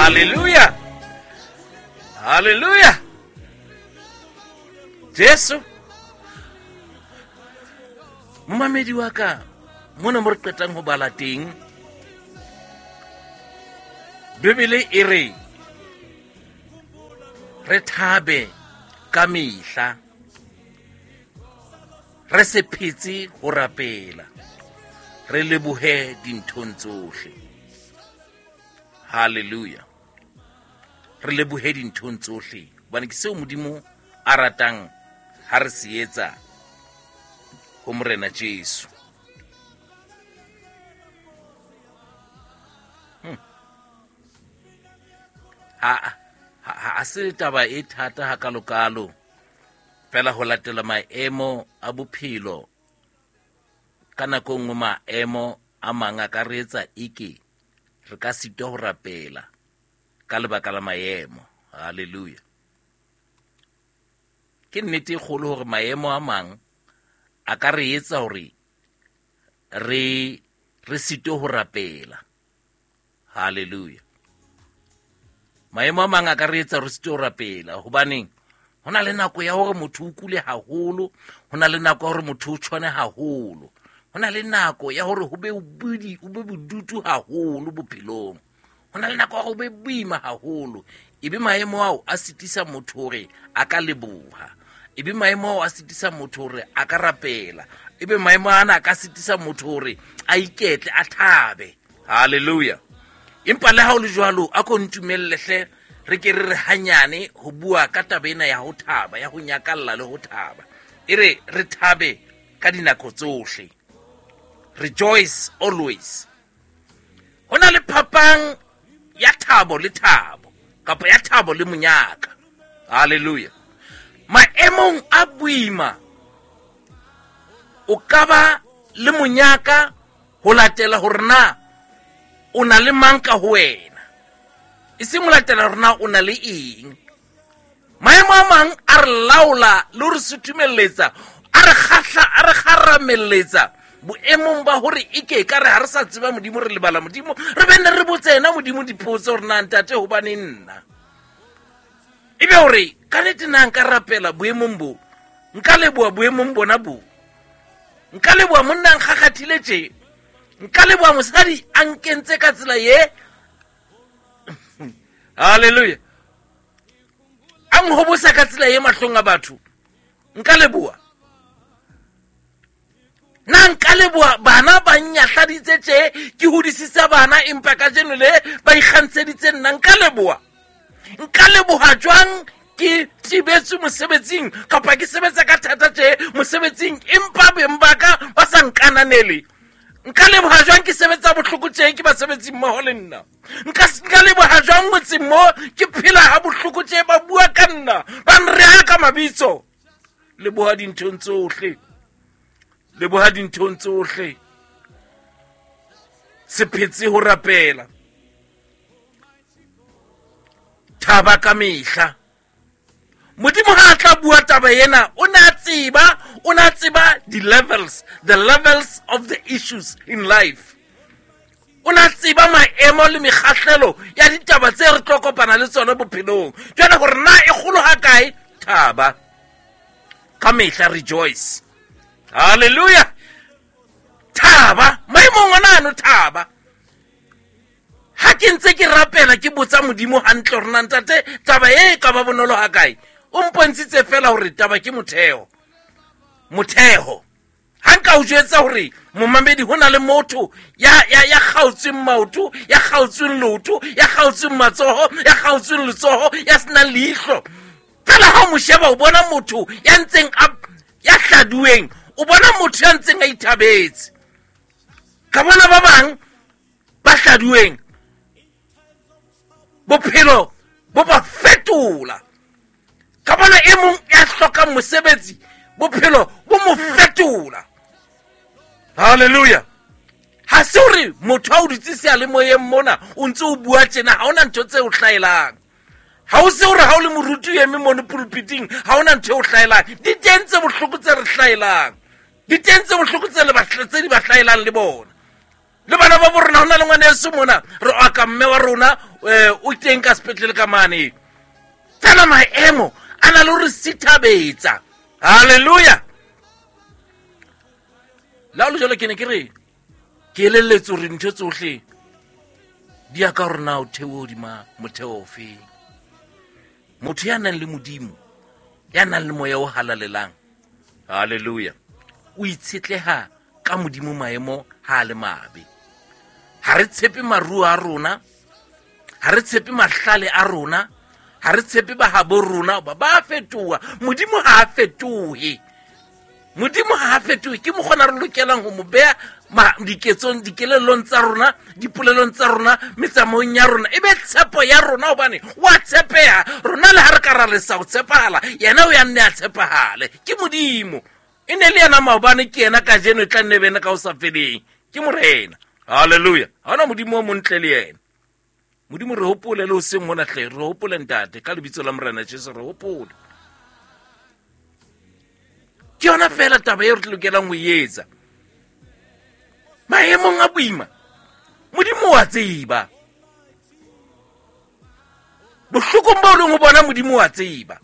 Halleluja, halleluja. Jesu momamedi wa ka, mona mo re qetang ho bala teng, Bibele e re re thabe ka mehla, re se phetse ho rapela, re lebohe dinthong tsohle. Halleluja. Re lebohe dinthong tsohle, hobane ke seo Modimo a ratang ha re se etsa ho Morena Jesu. Ha se taba e thata hakalokalo, fela ho latela maemo a bophelo. Ka nako nngwe maemo a mang a ka re etsa eke re ka sitwa ho rapela ka lebaka la maemo. Halleluja. Ke nnete e kgolo hore maemo a mang a ka re etsa hore re sitwe ho rapela. Halleluja. Maemo a mang a ka re etsa re sitwe ho rapela, hobaneng ho na le nako ya hore motho o kule haholo, ho na le nako ya hore motho o tshwane haholo, ho na le nako ya hore ho be o be bodutu haholo bophelong, ho na le nako ya hore ho be boima haholo. Ebe maemo ao a sitisa motho hore a ka leboha, ebe maemo ao a sitisa motho hore a ka rapela, ebe maemo ana a ka sitisa motho hore a iketle, a thabe. Halleluja. Empa le ha o le jwalo, a ko ntumelle hle re ke re re hanyane ho bua ka taba ena ya ho thaba, ya ho nyakalla le ho thaba. E re re thabe ka dinako tsohle. Rejoice always. Ho na le phapang ya thabo le thabo, kapa ya thabo le monyaka. Halleluja. Maemong a boima o ka ba le monyaka ho latela hore na o na le mang ka ho wena, e seng ho latela hore na o na le eng. Maemo a mang a re laola le ho re suthumelletsa, a re kgahla, a re kgaramelletsa boemong ba hore e ke ka re ha re sa tseba Modimo, re lebala Modimo, re be ne re botse yena Modimo dipotso hore na ntate hobane nna. Ebe hore ka nnete na nka rapela boemong bo, nka leboha boemong bona bo, nka leboha monna a nkgakgathile tje, nka leboha mosadi a nkentse ka tsela ye. Halleluja. A nhobosa ka tsela ye mahlong a batho, nka leboha. Na nka leboha bana ba nnyahladitse tje, ke hodisitse bana empa kajeno le ba ikgantsheditse nna, nka leboha. Nka leboha jwang ke thibetswe mosebetsing kapa ke sebetsa ka thata tje mosebetsing empa beng ba ka ba sa nkananele? Nka leboha jwang ke sebetsa bohloko tje ke basebetsi mmoho le nna? Nka leboha jwang motseng mo ke phela ha bohloko tje, ba bua ka nna, ba nreha ka mabitso? Leboha dinthong tsohle, leboha dinthong tsohle. Se phetse ho rapela. Thaba ka mehla. Modimo ha a tla bua taba ena, o ne a tseba, o ne a tseba the levels, the levels of the issues in life. O ne a tseba maemo le mekgahlelo ya ditaba tse re tlo kopana le tsona bophelong. Jwale hore na e kgolo ha kae, thaba ka mehla, rejoice. Halleluja. Thaba maemong ona ano, thaba. Ha ke ntse ke rapela ke botsa Modimo hantle hore na ntate taba e ka ba bonolo ha kae, o mpontshitse fela hore taba ke motheo. Motheo. Ha nka o jwetsa hore momamedi ho na le motho ya kgaotsweng maoto, ya kgaotsweng leoto, ya kgaotsweng matsoho, ya kgaotsweng letsoho, ya senang leihlo. Fela ha o mo sheba o bona motho ya ntseng a, ya hladuweng, o bona motho ya ntseng a ithabetse. Ka bona ba bang ba hladuweng, bophelo bo ba fetola. Ka bona e mong ya hlokang mosebetsi, bophelo bo mo fetola. Halleluja. Ha se hore motho ha o dutse seyalemoyeng mona o ntse o bua tjena, ha hona ntho tse o hlaelang. Ha o se hore ha o le moruti o eme mono pulpiting, ha hona ntho e o hlaelang. Di teng tse bohloko tse re hlaelang, di teng tse bohloko tse le ba, tse di ba hlaelang le bona. Le bana ba bo rona, ho na le ngwaneso mona, re oka mme wa rona, o teng ka sepetlele ka mane. Fela maemo a na le hore sithabetsa. Hallelujah. La ho le jwalo, ke ne ke re ke elelletse hore dintho tsohle di ya ka hore na o theohe hodima motheo ofeng. Motho ya nang le Modimo, ya nang le moya o halalelang, hallelujah, o itshetleha ka Modimo maemo ha a le mabe. Ha re tshepe maruo a rona, ha re tshepe mahlale a rona, ha re tshepe bahabo rona, ba ba fetoha. Modimo ha a fetohe. Modimo ha a fetohe. Ke mokgona re lokelang ho mo beha diketsong, dikelellong tsa rona, dipolelong tsa rona, metsamaong ya rona, e be tshepo ya rona, hobane wa tshepeha. Rona le ha re ka ra lesa ho tshepahala, yena o ya nne a tshepahale. Ke Modimo. E ne le yena maobane, ke yena kajeno, e tla nne be yena ka ho sa feleng. Ke Morena. Hallelujah. Ha hona Modimo o montle le yena. Modimo re hopole le hoseng hona hle, re hopole ntate, ka lebitso la Morena Jesu re hopole. Ke yona fela taba eo re lokelang ho e etsa. Maemong a boima, Modimo wa tseba. Bohlokong bo leng ho bona, Modimo wa tseba.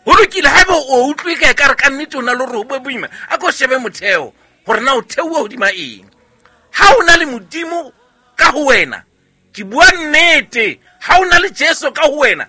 Ho lokile, haeba o utlwe ka ekare ka nnete o na le hore ho be boima, a ko shebe motheo hore na o theoha hodima eng. Ha o na le Modimo ka ho wena, ke bua nnete, ha o na le Jesu ka ho wena,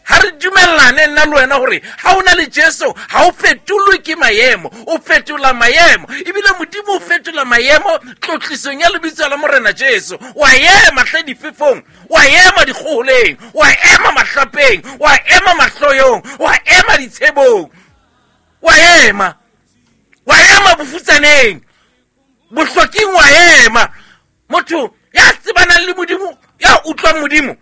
ha re dumellane nna le wena hore ha o na le Jesu ha o fetolwe ke maemo, o fetola maemo. Ebile Modimo o fetola maemo tlotlisong ya lebitso la Morena Jesu. Wa ema hle difefong, wa ema dikgoholeng, wa ema mahlapeng, wa ema mahloyong, wa ema ditshebong, wa ema, wa ema bofutsaneng, bohloking, wa ema. Motho ya tsebanang le Modimo, ya utlwang Modimo,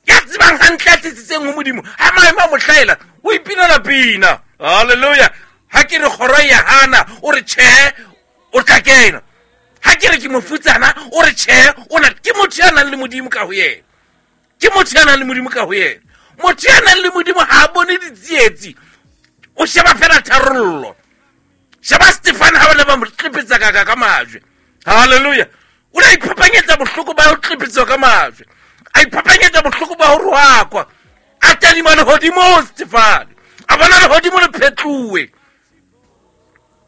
ya tsebang hantle, ya tsitsitseng ho Modimo, ha maemo a mo hlahela, o ipinela pina. Hallelujah. Ha ke re kgoro ya hana, o re tjhe, o tla kena. Ha ke re ke mofutsana, o re tjhe, o na. Ke motho ya nang le Modimo ka ho yena. Ke motho ya nang le Modimo ka ho yena. Motho ya nang le Modimo ha a bone ditsietsi, o sheba fela tharollo. Sheba Stefan ha ba ne ba mo tlepetsa ka majwe. Hallelujah. O ne a iphapanyetsa bohloko ba ho tlepetswa ka majwe, a iphapanyetsa bohloko ba ho rohakwa, a tadima lehodimo Stefan, a bona lehodimo le phetluwe,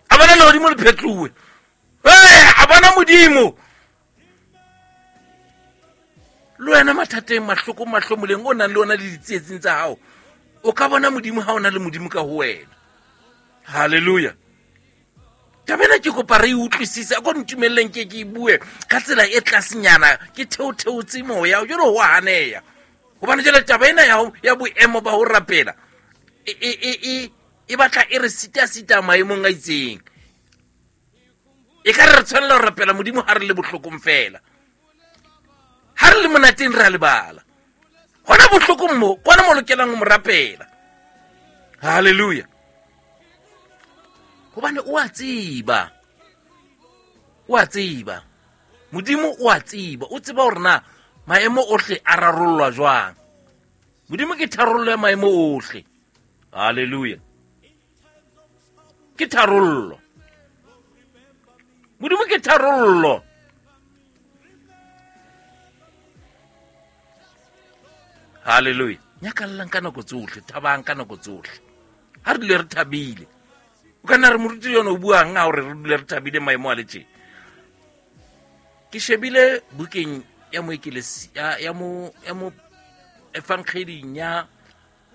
a bona lehodimo le phetluwe, a bona Modimo. Le wena mathateng, mahlokong, mahlomoleng o nang le ona le ditsietsing tsa hao, o ka bona Modimo ha o na le Modimo ka ho wena. Hallelujah. Taba ena ke kopa re e utlwisise, a ko ntumelleng ke ke e bue ka tsela e tlasenyana, ke theotheotse moya jwale ho a haneya. Hobane jwale taba ena ya boemo ba ho rapela e batla e re sita-sita maemong a itseng. E ka re re tshwanela ho rapela Modimo ha re le bohlokong fela. Ha re le monateng re a lebala. Hona bohlokong mo, kwana mo lokelang ho mo rapela. Hallelujah. Hobane o a tseba. O a tseba. Modimo o a tseba. O tseba hore na maemo ohle a rarollwa jwang. Modimo ke tharollo ya maemo ohle. Hallelujah. Ke tharollo. Modimo ke tharollo. Hallelujah. Nyakallang ka nako tsohle, thabang ka nako tsohle. Ha re dule re thabile. O ka nna re moruti yona o buang ha hore re dule re thabile maemo a le tje. Ke shebile bukeng ya moekelesi, ya, ya mo, ya mo evangeling ya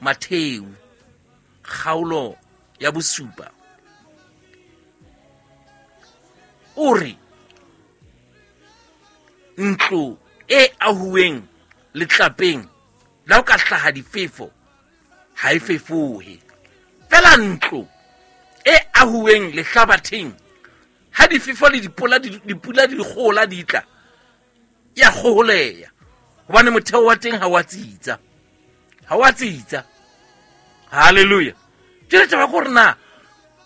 Mattheu, kgaolo ya bosupa. O re ntlo e ahuweng letlapeng la ho ka hlaha difefo ha e fefohe. Fela ntlo e ahuweng lehlabatheng, ha difefo le dipula di kgohola di tla, ya kgoholeha, hobane motheo wa teng ha wa tsitsa. Ha wa tsitsa. Hallelujah. Jwale taba ke hore na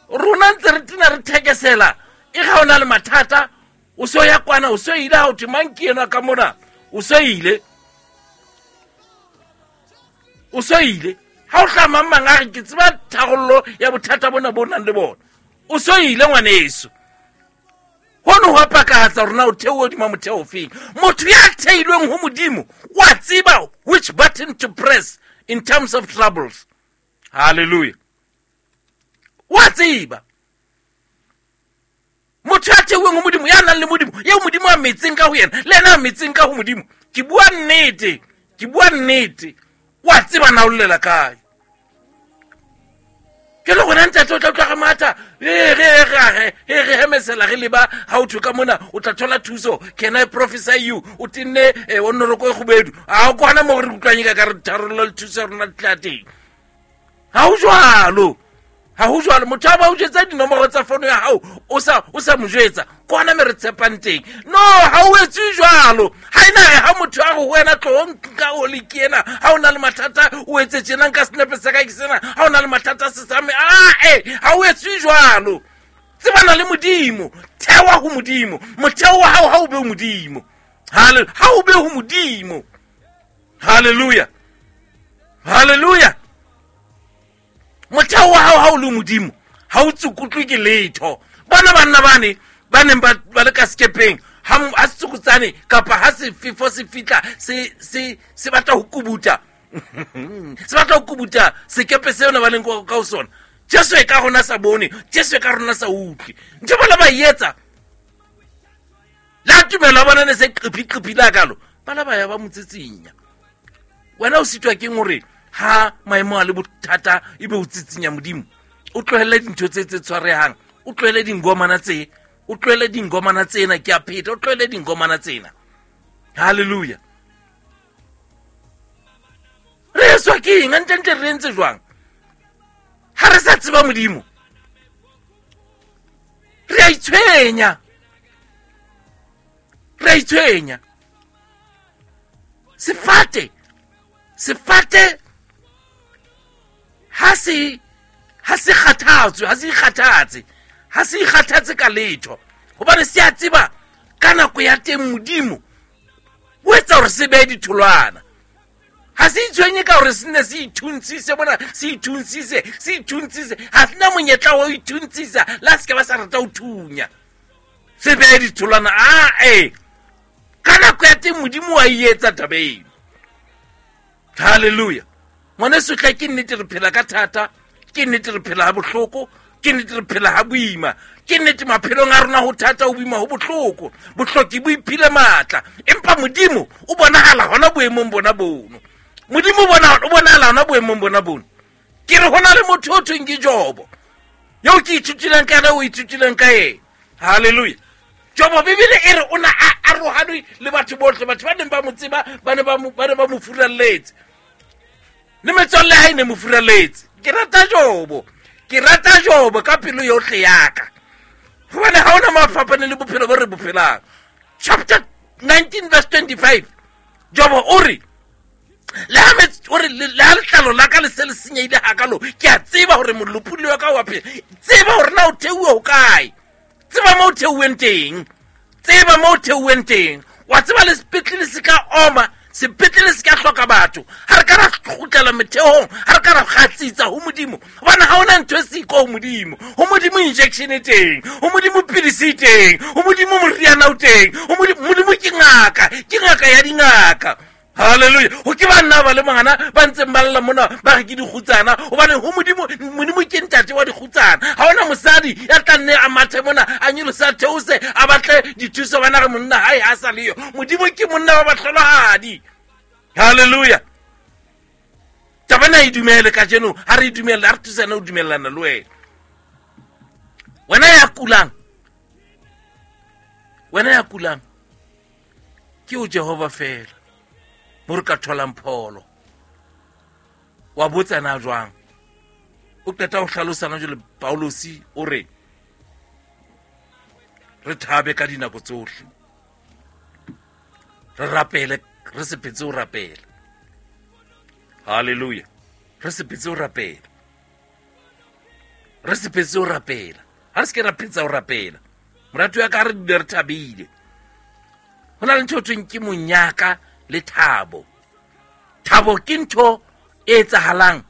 rona ntse re tena re thekesela, e ga o na le mathata, o so ya kwana, o so ile ha o thwe mang ke enwa ka mona, o so ile. O so ile. Ha o tla mang mang a re ke tseba tharollo ya bothata bona bo nang le bona, o so ile ngwaneso. Hono ho a pakahatsa hore na o theohe hodima motheo ofeng. Motho ya theilweng ho Modimo wa tseba which button to press in terms of troubles. Hallelujah. Wa tseba. Motho ya theoheng ho Modimo, ya nang le Modimo, eo Modimo a metseng ka ho yena, le yena a metseng ka ho Modimo. Ke bua nnete, ke bua nnete. Wa tseba na o llela kae. Ke le gona ntate o tla utlwa re matha re hemesela re leba ha o thwe ka mona o tla thola thuso. Can I prophesy you? O tenne o nnoroko e kgubedu. A o kwana mo re utlwang ka re tharollo le thuso ya rona di tla teng. Ha ho jwalo. Ha ho jwalo. Motho a ba o jwetsa dinomoro tsa fono ya hao, o sa mo jwetsa. Kwana me re tshepang teng. No, ha o etswe jwalo. Ha ena re ha motho a re ho wena tloho nka o le ke ena. Ha o na le mathata, o etse tjena, nka senepe sa ka ke sena. Ha o na le mathata se sa me. Ha o etswe jwalo. Tsebana le Modimo. Thewa ho Modimo. Motheo wa hao ha o be ho Modimo. Ha o be ho Modimo. Hallelujah. Hallelujah. Motheo wa hao ha o le Modimo, ha o tsukutlwe ke letho. Bona banna bane ba neng ba le ka sekepeng, ha setsukutsane kapa ha sefefo se fihla, se batla ho kubuta. Se batla ho kubuta sekepe seo ne ba leng ka ho sona. Jesu e ka rona sa bone, Jesu e ka rona sa utlwe. Ntho ba la ba etsa. La tumelo ya bona ne se qiphi-qiphi la kalo. Ba la ba ya ba mo tsitsinya. Wena o sitwa keng hore ha maemo a le bothata ebe o tsitsinya Modimo? O tlohelle dintho tse tse tshwarehang, o tlohelle dingomana tse, o tlohelle dingomana tsena, ke a pheta, o tlohelle dingomana tsena. Hallelujah. Re etswa ke eng? Hantle-ntle re entse jwang? Ha re sa tseba Modimo, re a itshwenya. Re a itshwenya. Sefate, sefate ha se, ha se kgathatswe, ha se ikgathatse, ha se ikgathatse ka letho. Hobane se a tseba ka nako ya teng Modimo o etsa hore se behe ditholwana. Ha se itshwenye ka hore se nne se ithuntshise mona, se ithuntshise, se ithuntshise. Ha se na monyetla wa ho ithuntshisa, le ha se ka ba sa rata ho thunya. Se behe ditholwana, Ka nako ya teng Modimo wa e etsa taba eno. Hallelujah. Ngwaneso hle, ke nnete re phela ka thata, ke nnete re phela ha bohloko, ke nnete re phela ha boima, ke nnete maphelong a rona ho thata, ho boima, ho bohloko. Bohloki bo iphile matla, empa Modimo o bonahala hona boemong bona bono. Modimo o bonahala hona boemong bona bono. Ke re hona le motho o thweng ke Jobo, eo ke ithutileng ka yena, o ithutileng ka yena. Hallelujah. Jobo, Bibele e re o na a arohane le batho bohle, batho ba neng ba mo tseba ba ne ba mo, ba ne ba mo furalletse. Le metswalle ha e ne mo furalletse. Ke rata Jobo, ke rata Jobo ka pelo yohle ya ka. Hobane ha hona mo a fapaneng le bophelo bo re bo phelang. Chapter 19 verse 25. Jobo o re, le ha mets-, o re, le, le ha letlalo la ka le se le senyehile hakalo, ke a tseba hore molopolli wa ka wa phela. Tseba hore na o theuwe ho kae. Tseba mo o theuweng teng. Tseba mo o theuweng teng. Wa tseba le sepetlele se ka oma, sepetlele se ka hloka batho. Ha re ka ra kgutlela metheong, ha re ka ra kgatsitsa ho Modimo. Hobane ha hona ntho e siko ho Modimo. Ho Modimo injection e teng, ho Modimo pilisi e teng, ho Modimo moriana o teng, ho Modimo, Modimo ke ngaka, ke ngaka ya dingaka. Hallelujah. Ho ke banna ba le mangana ba ntseng ba lla mona ba re ke dikgutsana, hobane ho Modimo, Modimo ke ntate wa dikgutsana. Ha hona mosadi ya tla nne a mathe mona, a nyolose, a theose, a batle dithuso, bana re monna hae ha sa leyo. Modimo ke monna wa bahlolohadi. Hallelujah. Taba ena e dumele kajeno, ha re e dumelle, ha re thusane ho dumellana le wena. Wena ya kulang, wena ya kulang, ke o Jehova fela mo re ka tholang pholo. Wa botsa na jwang? O qeta ho hlalosa na jwale Paulosi o re re thabe ka dinako tsohle, re rapele, re se phetse ho rapela. Hallelujah. Re se phetse ho rapela, re se phetse ho rapela. Ha re se ke ra phetsa ho rapela, morati wa ka, ha re dule re thabile. Ho na le ntho e thweng ke monyaka le thabo. Thabo ke ntho e etsahalang,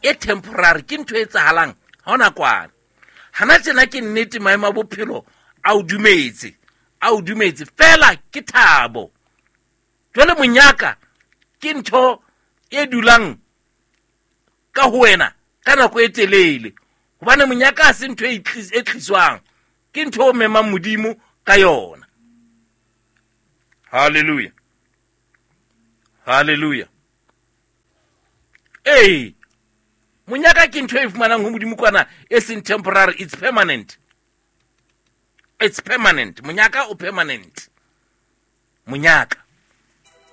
e temporary, ke ntho e etsahalang ha hona kwana. Hana tjena ke nnete maemo a bophelo A o dumetse, a o dumetse fela, ke thabo. Jwale monyaka ke ntho e dulang ka ho wena ka nako e telele, hobane monyaka ha se ntho e e tliswang, ke ntho o memang Modimo ka yona. Hallelujah, hallelujah. Ee, monyaka ke ntho e fumanang ho Modimo kwana, e seng temporary, it's permanent, it's permanent. Monyaka o permanent, monyaka.